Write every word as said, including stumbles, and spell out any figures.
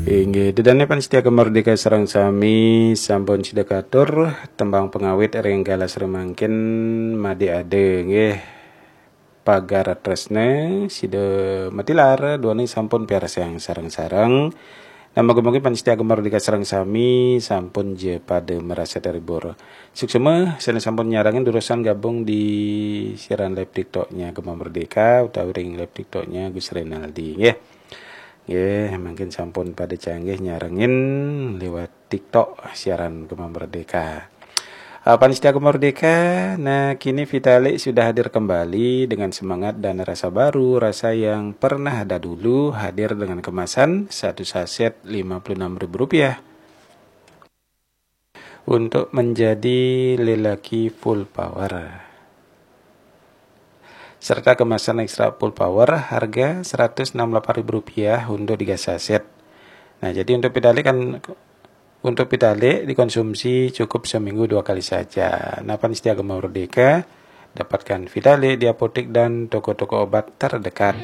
Inggih, dedane pamiarsa Gema Merdeka sareng sami sampun sida katur tembang pengawit ring galah sri mangkin made ada nggih. Pagar Tresna sida matilar duane sampun piarsayang sareng-sareng. Nah, mugi-mugi pamiarsa Gema Merdeka sareng sami sampun ja pada marasa terhibur. Suksma sane sampun nyarengin durusang gabung di siaran live TikToknya Gema Merdeka utawi ring live TikToknya Gus Renaldi nggih. Nggih, mangkin sampun pada canggih nyarengin lewat TikTok siaran Gema Merdeka. Ah, pamiarsa Gema Merdeka, nah kini Vitalik sudah hadir kembali dengan semangat dan rasa baru, rasa yang pernah ada dulu, hadir dengan kemasan satu saset lima puluh enam ribu rupiah untuk menjadi lelaki full power. Serta kemasan ekstra full power harga seratus enam puluh delapan ribu rupiah untuk tiga saset. Nah, jadi untuk Vitalik kan, untuk Vitalik dikonsumsi cukup seminggu dua kali saja. Nah, pamiarsa Gema Merdeka, dapatkan Vitalik di apotek dan toko-toko obat terdekat.